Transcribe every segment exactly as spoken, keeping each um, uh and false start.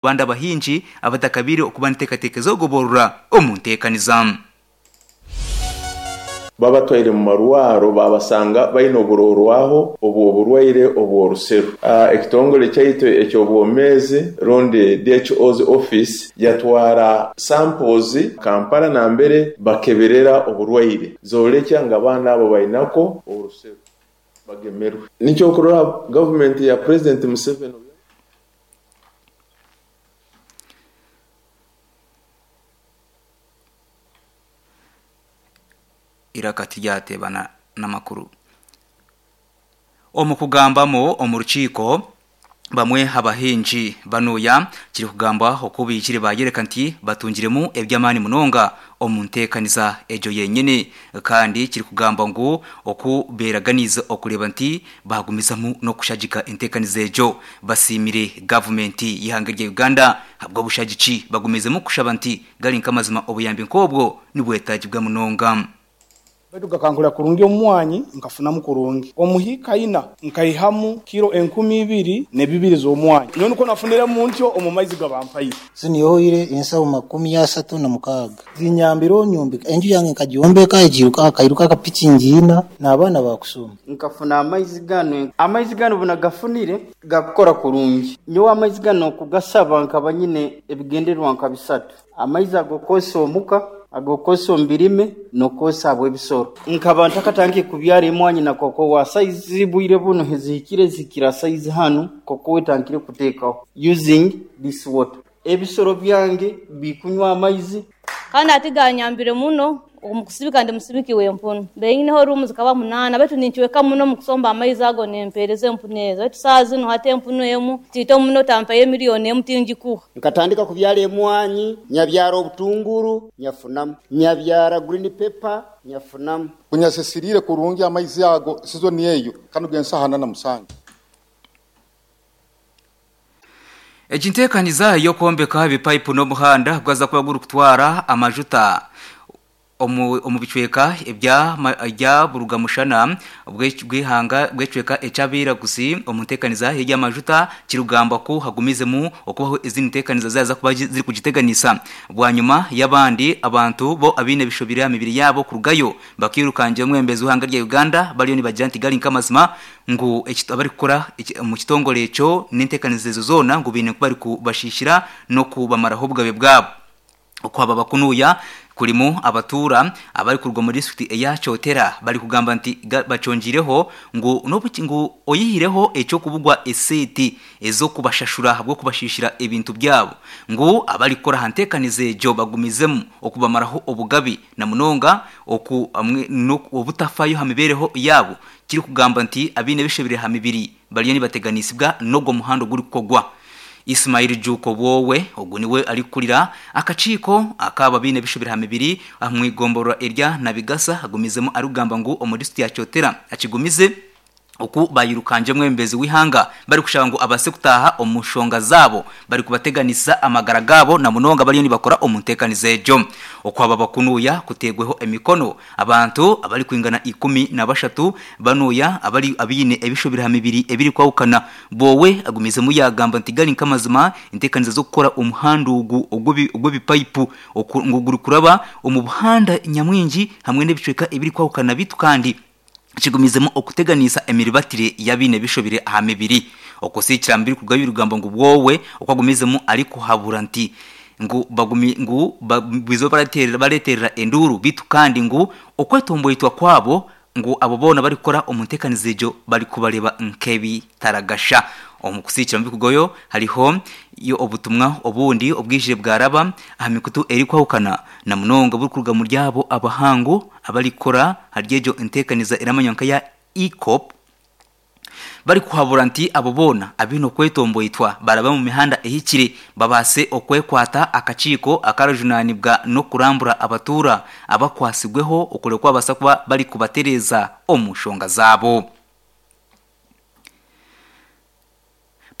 Bandi abahingi abatakabire okuba niteekateeka ez'okugoborora omu nteekaniza. Babatwaire mu marwaro babasanga baine oburorwaho obw'oburwaire obw'oruseru. Ekitongole kyaitu eky'obwomeezi rundi D H O's office yatwara samples Kampala nambere bakeberera oburwaire, zoolekya nga abaana abo bainako oruseru bagemerwe. Nikyo okurora gavumenti ya President Museveni. Iraka tiryateebana n'amakuru. Omu kugambamu omu rukiiko, bamwe abahingi banuya kiri kugambwa oku baijire bayereka nti batungiremu eby'amaani munonga omu nteekaniza egyo yenyini, kandi kiri kugambwa ngu oku beeraganiize okureeba nti bagumizamu n'okushagika enteekaniza egyo. Basiimire gavumenti y'eihanga rya Uganda ahabw'obushagiki, bagumizemu kushaba nti gari nk'amazima obuyambi nk'obwo nibwetaagibwa munonga. Baitu gakankora kurungi omumwanyi, nkafunamu kurungi. Omuhiika ina nkaihamu kiro enkumi ibiri nebibiri z'omwanyi. Nyowe nikwo nafuniremu ntyo omu maizi gabampaire. Zinyoire ensaho makumi asatu na mukaaga zinyambire onyombeka enju yange, nkagyombeka egiruka akairuka akapiki ngiina n'abaana bakusoma. Nkafuna amaizi gano. Amaizi gano bunagafunire gakukora kurungi. Nyowe amaizi gano okugasaba nkaba nyine ebigendererwa nka bisatu: amaizi ag'okukozesa omuka, ag'okukozesa omu birime, n'okukozesa habw'ebisoro. Nkaba ntakatandikire kubyara emwanyi na kokowa, saizi bwire bunu zihikire zihikire saizi hanu kokowa etandikire kuteekaho using this water. Ebisoro byange bikunywa amaizi. Kandi ati ganyambire muno omu kusibika. Ndi musibiki w'empunu, beineho ruumu zikaba munaana, baitu ninkiweka muno mu kusomba amaizi ago nempeereza empunu ezo. Baitu saaha zinu hati empunu emu tiito muno tampaire miliyoni emu tingikuha. Nkatandika kubyara emwanyi, nyabyara obutunguru nyafunamu, nyabyara green pepper nyafunamu. Kunyasisirire kurungi amaizi ago sizoni eyo kanu gensaha na musanju. Egi nteekaniza y'okwombeka ebipayipu n'omuhanda gwaza kuba gurikutwara amajuta omu omu bicweka ebya ebya burugamushana bw'eihanga bw'ekicweka eky'abairaguzi omu nteekaniza y'amajuta, kirikugambwa ku hagumizemu okubaho ezindi nteekaniza zaaza kuba zirikugiteganisa, bwanyima y'abandi abantu bo abaine ebishobire aha mibiri yaabo kurugayo bakirukangira omwebembezi w'eihanga rya Uganda, bariyo nibagira nti gari nk'amazima ngu abarikukora omu kitongore ekyo n'enteekaniza ezo zoona ngu baine kuba barikubashishira n'okubamaraho obugabe bwabo. Okwaba bakunuya kurimu abatuura abarikuruga omu disiturikiti eya Kyotera, barikugamba nti bakyongireho ngu ngu oyihireho eky'okubugwa esente ez'okubashashura ahabw'okubashishira ebintu byabo, ngu abarikukora aha nteekaniza egyo bagumizemu okubamaraho obugabe na munonga oku obutafayo aha mibeereho yaabo, kirikugamba nti abaine ebishobire aha mibiri bariyo nibateganisibwa n'ogwo muhanda ogurikukorwa. Ismail Juuko Bwowe ogu niwe arikukurira akakiiko akaba abaine ebishobire aha mibiri omu igomborora erya Nabigasa, agumizemu arikugamba ngu omu disiturikiti ya Kyotera akigumize oku bayirukangye omwebembezi w'eihanga, barikushaba ngu abaase kutaaha omu nshonga zaabo, barikubateganisa amagara gaabo na munonga bariyo nibakora omu nteekaniza egyo. Okwaba bakunuya kuteegweho emikono abantu abarikwingana ikumi na bashatu banuya abari abaine ebishobire aha mibiri ebirikwahukana. Bwowe agumizemu yagamba nti gari nk'amazima enteekaniza z'okukora omuhanda ogu ogw'ebipayipu ngu gurikuraba omu buhanda nyamwingi hamwe n'ebicweka ebirikwahukana, bitu kandi kigumizemu okuteganisa emiribatire y'abaine ebishobire aha mibiri. Okusiikira mu birikurugayo birikugamba ngu Bwowe oku agumizemu arikuhabura nti ngu bagumi ngu bwizo bareeterera enduuru, bitu kandi ngu okwetomboitwa kwabo ngu abo boona barikukora omu nteekaniza egyo barikubareeba nk'ebitaragasha. Omu kusiikira mu birikurugayo hariho yo obutumwa obundi obwijire bwaraba aha mikutu erikwahukana, na munonga burikuruga muri abo abahangu abarikukora ahari egyo nteekaniza eramanywa nka EACOP, barikuhabura nti abo boona abaine okwetomboitwa baraba omu mihanda ehikire babaase okwekwata akakiiko akarajunanibwa n'okurambura abatuura abakwasibweho okureba ku babaasa kuba barikubatereeza omu nshonga zaabo.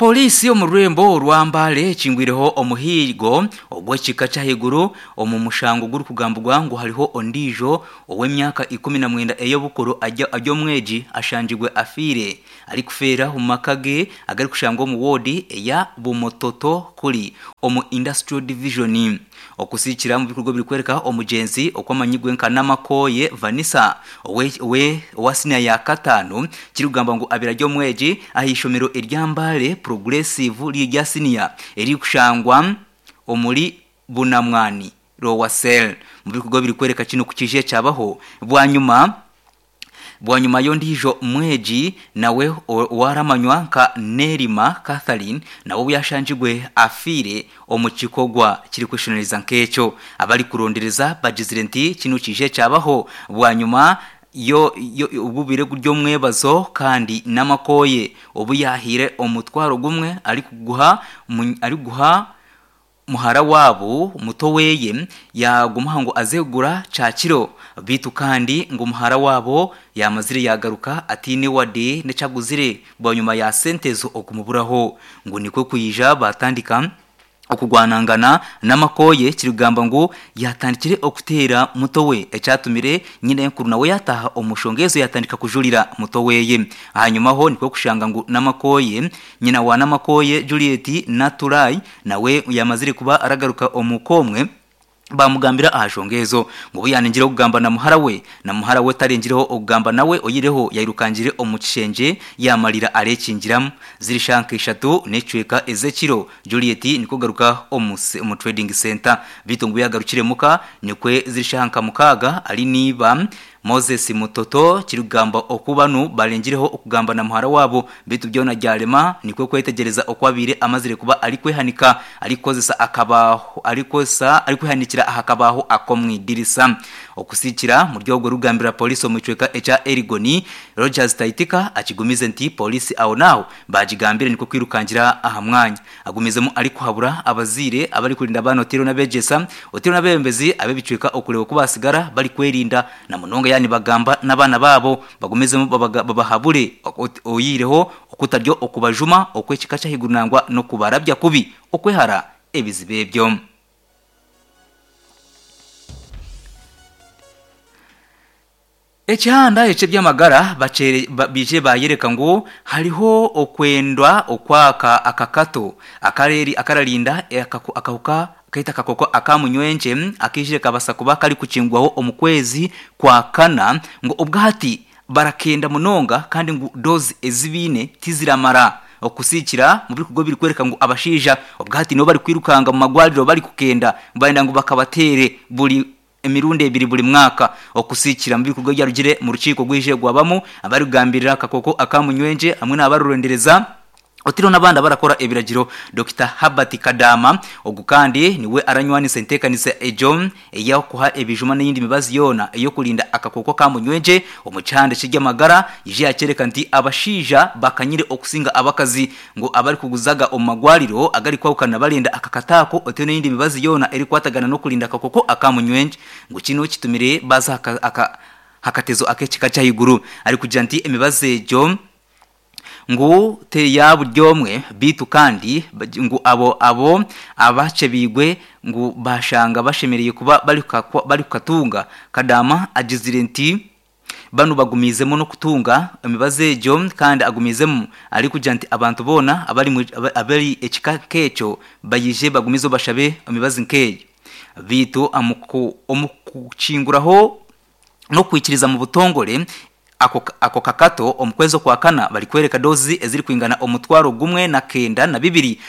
Polisi omu rurembo orwambale ekingwireho omuhiigo ogw'ekika ky'ahaiguru omu mushango gurikugambibwa ngu hariho ondiijo ow'emyaka ikumi na mwenda ey'obukuru ajya omwegi ashanjibwe afiire arikufeera omu maka ge agarikushangwa omu woodi eya Bumototo kuri omu Industrial Division. Okusikira mu bikorwa birikwereka omugyenzi okwamanyigwe nka Namakoye Vanessa owe owe owa senior ya katano, kirikugamba ngu abira ry'omwegi ah'ishomero eryambale Progressive rya senior erikushangwa omuri Bunamwani Lower Cell. Mu bikorwa birikwereka kino kukije cyabaho bwanyuma bwanyuma yondijo mwegi nawe waramanywa nka Nerima Catherine, nawe yashanjigwe afire omu kikogwa kiri kwishoneriza nk'ekyo. Abari kurondereza bagizire nti kino kije cyabaho bwanyuma yo ububire ry'omwebazo, kandi namakoye obu yahire omutwaro gumwe ari kuguha ari guha muhara wabo muto weye yagumuha ngo azegura cakiro bitu, kandi ngo muhara wabo yamazire yagaruka atine wade necaguzire bwanyuma ya sentezo okumuburaho, ngo niko kuyija batandika okugwanangana namakoye, kirigamba ngo yatandikire okutera muto we ecyatumire nyina enkuru nawe yataha omushongezo yatandika kujulira muto weye. Hanyuma ho niko kushanga ngo namakoye nyina wa namakoye Juliet Naturai nawe yamazire kuba aragaruka omukomwe bamugambira ahashongezo ngo yanengireho kugamba na muhara we, na muhara we tarengireho okugamba nawe oyireho yairukangire omukishenje yamalira arekingiramu zirishanka eshatu necweka ezekiro. Juliet niko garuka omu omu trading center bitungu yagarukire muka nikwe zirishanka mukaga ari niba Moses Mutoto, kirugamba okubanu balengireho okugamba na muhara wabo bitu byona gyalema, nikwe kwetegereza okwabire amazire kuba ari kwehanika arikozesa akabaho arikosa ari kwehanikira ahakabaho akomwidirisa. Okusikira mu ryogo rugambira polisi omucweka echa Erigoni Rogers Taitika akigumize nti polisi aho naho bagigambire niko kwirukangira aha mwanya agumizemo ari kuhabura abazire abari kurinda abana otiro nabegesa otiro nabembezi abebicweka okureba kubasigara bari kwerinda na munonga, yani bagamba n'abana babo bagumizemo babahabure oyireho okutaryo okubajuma okwekika cyahigurunangwa no kubarabya kubi okwehara ebizibe ebyo. Ekihanda ekye byamagara bacere bije bayereka ngo hariho okwendwa okwaka akakato akareri akararinda akahuka kaita kakoko akamunywenje akijire kabasa kuba kali kuchingwaho omukwezi kwa kana, ngo obwati barakenda munonga kandi ngo dozi ezibine tiziramara. Okusikira mu bikugo biri kwereka ngo abashija obwati no bari kwirukanga mu magwariro bari kukenda baenda ngo bakabatere buri emirundi ebiri buri mwaka. Okusikira mu bikugo byarugire mu rukiko gwije gwabamo abari kugambirira akakoko akamunywenje hamwe n'abarurondereza otiro nabanda barakora ebiragiro. Doctor Habati Kadama ogu kandi niwe aranywanisa entekanisa ejo eyakuha ebijuma n'iyindi mibazi yona eyo kulinda akakoko kamunywenje omucande kijyamagara ije yakereka nti abashija bakanyire okusinga abakazi, ngo abari kuguzaga omagwariro agari kwawukana balinda akakatako otiro n'iyindi mibazi yona eri kwatagana no kulinda akakoko akamunywenje, ngo kino kitumire baza aka hakatezo akekika cyahiguru ari kugira nti emibazi ejo ngo te ya buryomwe bitu, kandi ngo abo abo abace bigwe ngo bashanga bashemereye kuba bari bari kukatunga. Kadama agizire nti banu bagumizemo no kutunga emibaze ejo kandi agumizemo ari kugira nti abantu bona abari abari ekika keco bayije bagumizo bashabe emibazi nkeyo bitu amuku omukuchinguraho no kwikiriza mu butongore ako ako kakato omukwezo kwa kana bali kwereka dozi eziri kwingana omutwaro gumwe na kenda na bibiri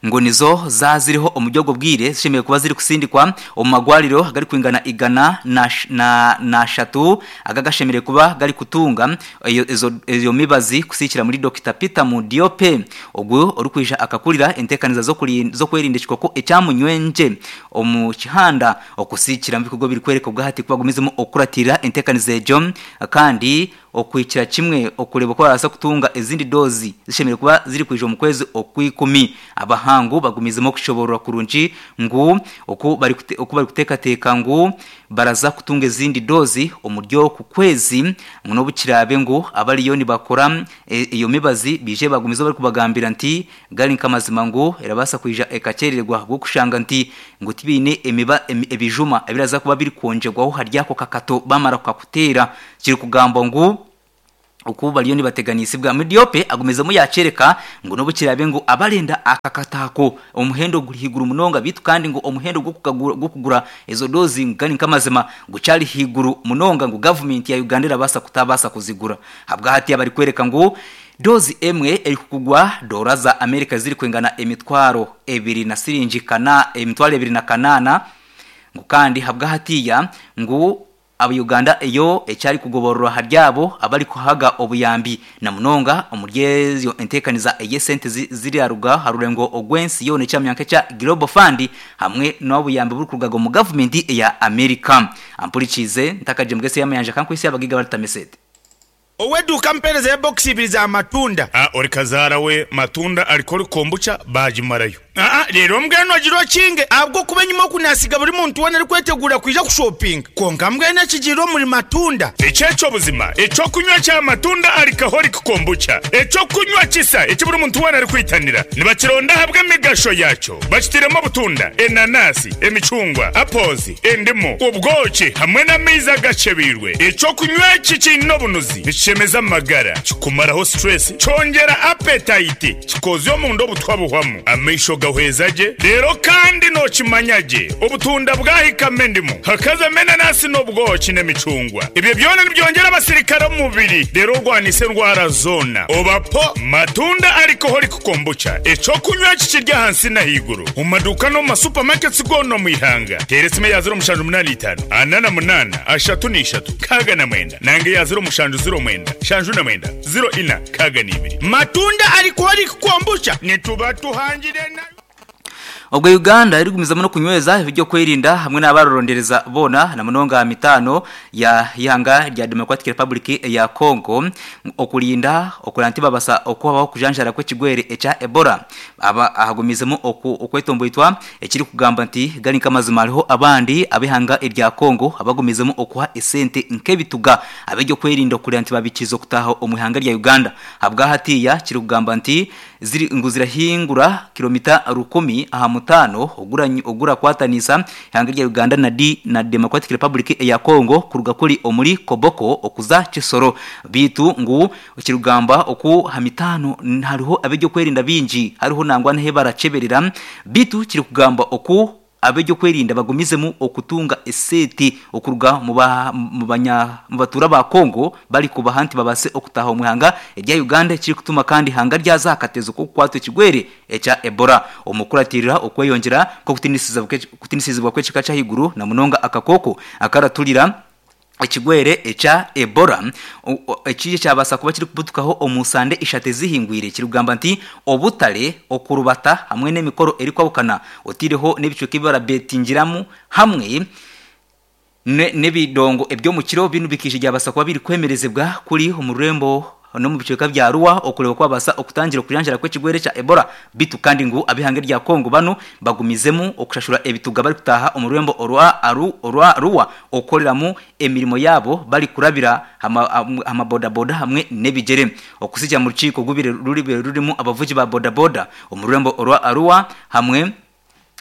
ngo nizo zaziriho omujyogo bwire zishimiye kuba ziri kusindikwa omagwariro gari kwingana igana na na, na shatu agagashemire kuba gari kutunga ezo ezo mibazi kusikira muri Doctor Peter Mudiope ogwo orukwija akakurira entekaniza zo kuri zo kwerinda kikoko ecyamunywenje omu kihanda. Okusikira mu bikorwa biri kwereka ubwahati kubagumizemo okuratira entekaniza ejo kandi okwikira kimwe okureba ko barasa kutunga ezindi dozi zishemere kuba ziri kwija mu kwezi okwikumi. Abahangu bagumizemo kushoborora kurungi ngu oku bari oku bari kutekateka ngu baraza kutunga ezindi dozi omuryo ku kwezi ngo bukirabe ngu abariyo nibakora iyo mibazi bije bagumizo bari kubagambira nti gari nkamazima ngu erabasa kwija ekacererwa bwo kushanga nti ngo tibine emiba ebijuma ebiraza kuba biri konjegwaho haryako kakato bamara kukakutera kiri kugamba ngu uku baliyo nibateganisibwa. Midiope agumezemo yacereka ngo nobukirabe ngo abarenda akakatako omuhendo guri higuru munonga bitu kandi ngo omuhendo gwo kugura ezo dozi ngani nkamazima gucari higuru munonga ngo government ya Uganda irabasa kutabasa kuzigura. Habwa hati abari kwereka ngo dozi emwe eri kugwa dola za Amerika ziri kwengana emitwaro ebiri na siringi kana emitwaro ebiri na kanana ngo kandi habwa hatiya ngo Uganda eyo ecyari kugoborora haryabo abari kuhaga obuyambi na munonga omuryezo entekaniza eye sente ziri aruga harurengo ogwensi yone cyamyanka cya Global Fund hamwe n'obuyambi buri kurugago mu government ya America. Ampurikize ntakaje mugese yamayanja kankwisi abagiga baritamesete Oweduka mpereza ya box ibiri za matunda. Ah, ori kazara we matunda alikori kombucha bajimarayo. Ah ah, rero mbweno agiro kinge abwo kubenyuma kunasiga buri muntu wana ari kwetegura kwija ku shopping. Konka mbwene kijiro muri matunda. Echecho buzima, echo kunywa cha matunda alcoholic kombucha. Echo kunywa kisa, echo buri muntu wana ari kwitanira. Nibakironda habwe migasho yacho. Bakitiremo butunda, enanasi, emicungwa, apples, endimu, ubwoki hamwe n'amiza gacebirwe. Echo kunywa kikino bunuzi. Chemeza magara kikumaraho stress chongera appetite kikozyo mu ndo butwabuhwamu amisho gahwezaje rero kandi no kimanyaje ubutunda bwahikame ndimu hakaza menanasi n'ubwoki n'emicungwa ibyo byona nibyongera abasirikare mu mubiri rero rwanise ndwara zona obapo matunda alcoholic kombucha eco kunywa kikirya hansi na higuru mu maduka no mu supermarkets gono mu ihanga teresime ya zero mushanju munani itanu anana munana ashatu n'ishatu kaga na mwenda nange ya zero mushanju zero mwenda shanju na mwenda zero ina kaga nibiri matunda alcoholic kombucha nituba tuhangire na Ubwo Uganda iri gumizamo no kunyweza ibyo kwirinda hamwe n'abarorondereza bona na munonga mitano ya ihanga rya Democratic Republic ya Congo okulinda okulanti babasa okubaho kujanjara kw'ekigwere echa Ebola aba ahagumizemo okwetomboitwa ekiri kugamba nti gari kamazima hariho abandi abihanga irya Congo abagumizemo okuha esente nkebituga abejyo kwirinda okulanti babikizo kutaho omuhanga rya Uganda habwa hatiya kiri kugamba nti ziri nguzira hingura kilomita rukumi aha mutano ogura ogura kwatanisa ihanga rya Uganda na D na Democratic Republic ya Congo kuruga kuri omuri Koboko okuza Kisoro bitu ngu kirugamba oku hamitano hariho abejyo kwerinda bingi hariho nangwa nhe baraceberera bitu kiri kugamba oku abejyo kwerinda bagumizemu okutunga eseti okuruga mu banya mu batura ba Kongo bari kubahanti babase okutaha omuhanga erya Uganda kiri kutuma kandi hanga ryazakatezo ko kwatwe kigwere echa Ebola omukuratirira okweyongera ko kutinisiza kutinisizibwa kwekika cha higuru na munonga akakoko akaraturira ekigwere echa Ebola ekije cyabasa kuba kiri kubutukaho omusande ishate zihingwire kirugamba nti obutale okurubata hamwe n'emikoro eri kwabukana otireho n'ebicuka ibara betingiramu hamwe n'ebidongo ebyo mu kiro binu bikije byabasa kuba biri kwemerezebwa kuri omurembo no mu bicuka bya Ruwa okureba kwabasa okutangira kujanjara kw'ekigwere cha Ebola bitu kandi ngu abihange rya Kongo bano bagumizemu okushashura ebituga bari kutaha omurembo orwa aru orwa Ruwa okoreramu emirimo yabo bari kurabira ama boda boda hamwe nebigere okusija mu rukiko gubire ruribe rurimu abavugi ba boda boda omurembo orwa Arua hamwe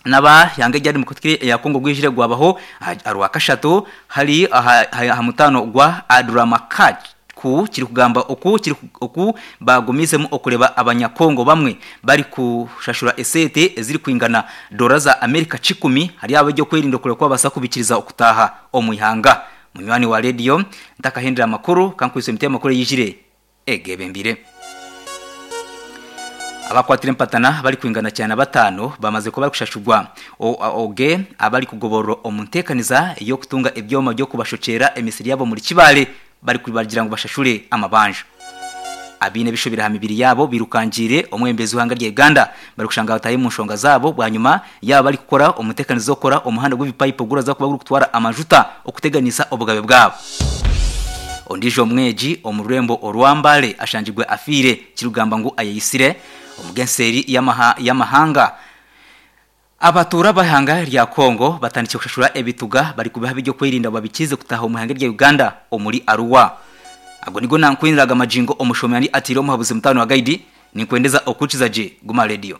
naba yange ryari mu kutwire ya Kongo gwijire gwabaho arwa kashatu hari aha mutano gwa Adramakaji ku kiri kugamba oku kiri oku bagumizemo okureba abanyakongo bamwe bari kushashura esete eziri kwingana dola za Amerika cikumi hari abajyo kwirinda kure kwa basa kubikiriza okutaha omuihanga munywani wa radio ntakahindira makuru kankwise mite makuru yijire egebembire abakwatire mpatana bari kwingana cyane batano bamaze kuba kushashugwa oge abari kugoborora omuntekaniza yo kutunga ebyoma byo kubashocera emisiri yabo muri kibale bari kubagira ngo bashashure amabanja abine bishobira ha mibiri yabo birukangire omwembezi w'ihanga rya Uganda bari kushanga bataye mu nshonga zabo bwanyuma yaba bari gukora umutekanizo okora omuhanda gw'ibipayipo guraza kuba gutwara amajuta okuteganisa obugabe bwabo. Ondijo mweji omurembo orwambale ashanjigwe afire kirugamba ngu ayisire omugenseri yamaha yamahanga. Abatura bahanga rya Kongo batandikye kushashura ebituga bari kubaha bijyo kwirinda babikize kutaha omuhanga rya Uganda omuri Arua. Ago nigo nankwiniraga majingo omushomyani atiro muhabuzi mutano wa guide ninkwendeza okuchiza je Guma Radio.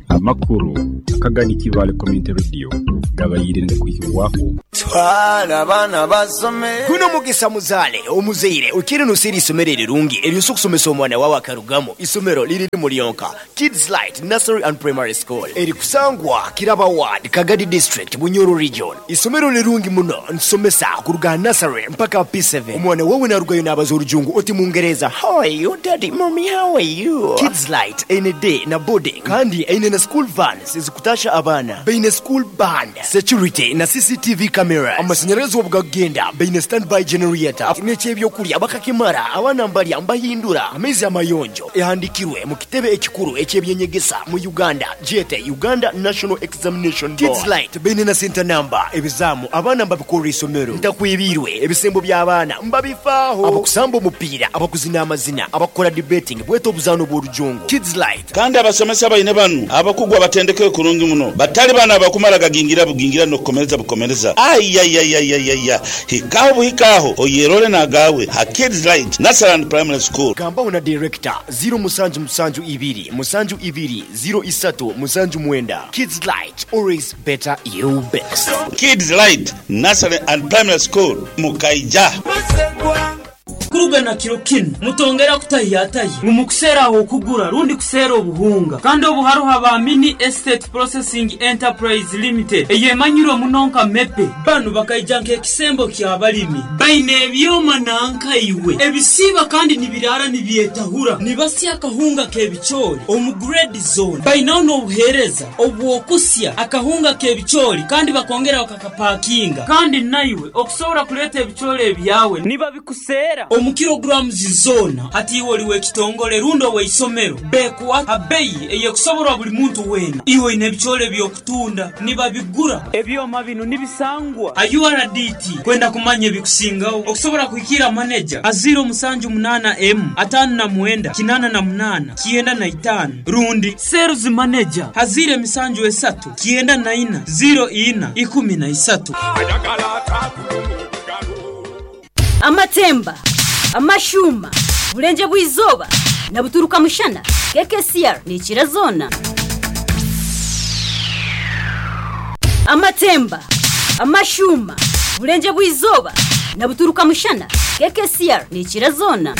Amakuru akagani kibale community radio gabayirinde kuhiwaho twala abana basome guno mugisa muzale omuzeire ukiri nusiri isomero rirungi eryo okusomesa omwana wawe akarugamo isomero liri mulionka Kids Light Nursery and Primary School eri kusangwa Kiraba Ward Kagadi District Bunyoro Region. Isomero lirungi muno nsomesa kuruga nursery mpaka P seven. Omwana wawe narugayo nabaza orujungu oti mungereza how are you daddy mommy how are you. Kids Light ene day na boarding kandi ene na school vans ezikutasha abana beine school band security na C C T V camera amashanyarazi obugagenda beine standby generator n'ekyebyokulya bakakimara abana mbalya mbahindura amezi amayonjo ehandikirwe mu kitebe ekikuru ekyebyenyegesa mu Uganda jete Uganda National Examination Board. Kids Light beine na center number ebizamu abana mbabikora isomero ntakwibirwe ebisembo by'abaana mbabifaaho abakusamba omupiira abakuzina amazina abakora debating bweto obuzano bw'orujungu Kids Light. Kandi abasomesa baine banu abakugwa batendeke kurungi muno batali bana abakumara gagingira bugingira no kukomereza bukomereza ayayayayaya hikaho buhikaho oyerole nagawe ha Kids Light Nursery and Primary School. Gamba una director zero musanju musanju ibiri musanju ibiri zero isatu musanju mwenda. Kids Light always better you best. Kids Light Nursery and Primary School Mukaija. Kuruga na kiro kino mutongera kutahiyataye mumukusera aho kugura rundi kusera obuhunga kandi obuharuha ba Mini Estate Processing Enterprise Limited eyemanyirwe munonka mepe banu bakaija nk'ekisembo ky'abalimi baine ebyoma nanka iwe ebisiba kandi nibirara nibyetahura nibasya akahunga k'ebicoori omu grade zone bainaho n'obuhereza obwokusya akahunga k'ebicoori kandi bakongera bakakapakinga kandi naiwe okusobora kuleta ebicoori ebyawe niba bikusera omu kilograms zona hati iwe oliwe kitongole rundo weisomero bekuwa abeyi eyekusoborwa buli muntu wena iwe ine ebicoori byokutunda nibabigura ebyoma bino nibisangwa U R D T kwenda kumanya ebikusingaho okusobora kuhikira manager aziro musanju munana m atano na mwenda kinana na munana kienda na itano rundi sales manager hazire misanju esatu kienda na ina zero ina ikumi na isatu. Amatemba amashuma bulenje bwizoba na buturuka mushana K K C R ni kirazona. Amatemba amashuma bulenje bwizoba na buturuka mushana K K C R ni kirazona.